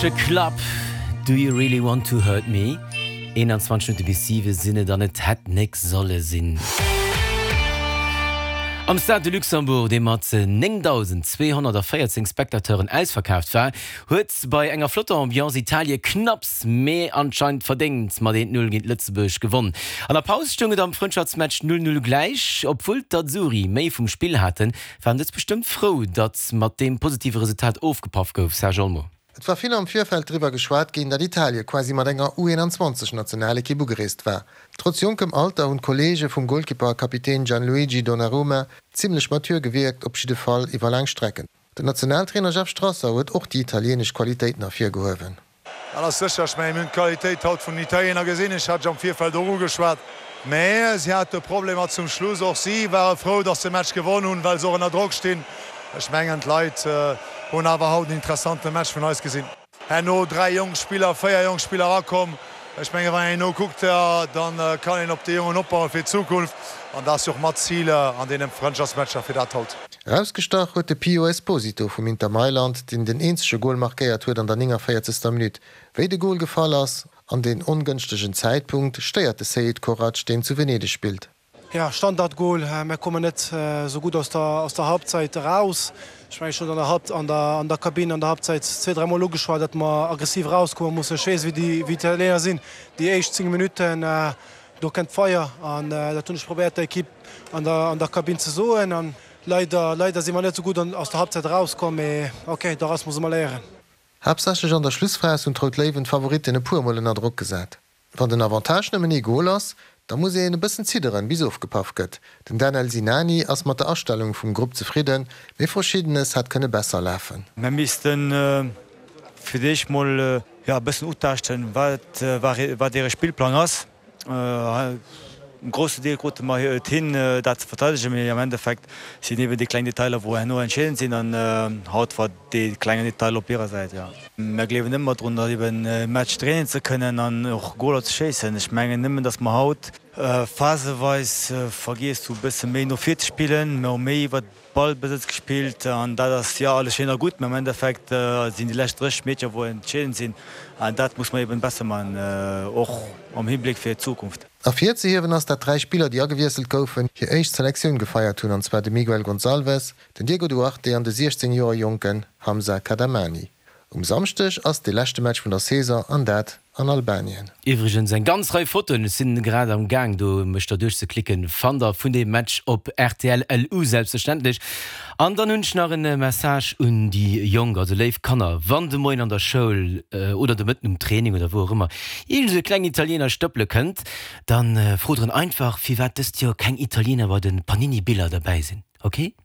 Culture Club, Do you really want to hurt me? 21 Minutte bis 7 sinn et an et hätt nek solle sinn. Am Stade de Luxembourg, dee mat 9.214 Spectateuren ausverkaaft war, huet bei enger flotter Ambiance Italie knapps, mee anscheinend verdéngt mat 1, 0 géint Lëtzebuerg gewonn. An der Paus stoung et am Frëndschaftsmatch 0, 0 gläich. Obwuel d'Azzurri méi vum Spill haten, waren dës bestëmmt frou, datt mat deem positive Resultat ofgepaff gouf. Serge Olmo. Et war vill am Virfeld driwwer geschwat ginn, datt Italie quasi mat enger U21 Nationalekipp ugereest war. Trotz jonkem Alter hunn d'Kolleege vum Golkipper a Kapitän Gianluigi Donnarumma zimmlech mature gewierkt, op jidde Fall iwwer laang Strecken. Den Nationaltrainer Jeff Strasser huet och déi italieenesch Qualitéiten ervirgehuewen. Dat ass sécher. Ech mengen, mir hunn d'Qualitéit haut vun den Italiener gesinn. Ech hat ech am Virfeld och ugeschwat. Mä si hate Problemer zum Schluss. Och si ware frou, datt se de Match gewonn hunn, well se och ënner Drock stinn. Ech mengen, d'Leit hunn awer haut en interessante Match vun eis gesinn. Herno 3 jonk Spiller, 4 jonk Spiller erakomm. Ech mengen, wann een elo kuckt, da kann een op déi Jongen opbauen fir d'Zukunft. An dat ass jo och mat d'Zil an deene Frëndschaftsmatcher fir dat haut. Erausgestach huet de Pio Esposito vum Inter Mailand, deen den eenzege Gol markéiert huet an der 49. Minutt. Wéi de Gol gefall ass an deen ongënschtegen Zäitpunkt, stéiert de Seid Korac, deen zu Venedeg spillt. Ja, Standardgoal. Mär kommen net esou gutt aus der aus der Halbzeit eraus. Ech mengen, ech hunn an der Halb an der an der Kabinn an der Halbzeit zwee, dräi Mol ugeschwat, datt mer aggressiv erauskomme mussen. Ech weess, wéi déi wéi d'Italiener sinn. Déi éischt 10 Minutten, do kënnt d'Feier an dat hunn ech probéiert der Ekipp an der an der Kabinn ze soen. An leider leider si mer net esou gutt an aus der Halbzeit erauskomm, mee okay, doraus musse mer léieren. Haaptsächlech an der Schlussphas hunn d'Rout Léiwen d'Favoritten e puer Mol ënner Drock gesat. Wann den Avantage nëmmen ee Gol ass, da muss een e bëssen zidderen, bis ofgepaff gëtt. Den Danel Sinani ass mat der Astellung vum Grupp zefridden, mee Verschiddenes hätt kënne besser lafen. Mir missten fir d'éischt mol e bëssen utaaschten, wat wat hire Spillplang ass. En groussen Deel krute mer et hin, dat ze verteidegen, mee am Endeffekt sinn eben déi kleng Detailer, wou herno entscheedend sinn an haut war dee klengen Detail op hirer Säit, jo. Mer gleewen ëmmer drun, datt eben e Match dréinen ze kënnen an och Goler ze schéissen. Ech mengen nëmmen, datt mer haut phaseweis vergiess hu bësse méi no vir ze spillen. Mer hu méi iwwert Ballbesëtz gespillt an dat ass jo alles schéin a gutt, mä am Endeffekt sinn déi lescht 30 Meter wou entscheedend sinn an dat muss mer eben besser man, och am Hibléck fir d'Zukunft. Ervirzehiewen ass, dat 3 Spiller déi agewiesselt goufen, hir éischt Selektioun gefeiert hunn, an zwar de Miguel Gonçalves, den Diego Duarte an de 16 Joer jonken Hamza Kadamani. Um Samschdeg ass dee leschte Match vun der Saison an dat an Albanien. Iwwregens eng ganz Rei Fotoen, ech sinn grad am Gaang do mech der duerchzeklicken, fannt der vun deem Match op rtl LU selbstverständlech. An dann hunn ech nach en Message un déi Jonk, also léif Kanner, wann de Moien an der Schoul oder de Mëtten um Training oder wou och ëmmer iergend esou e klengen Italiener stëppele kënnt, dann frot en einfach firwat dëst Joer keng Italiener bei den Panini Biller derbäi sinn, ok?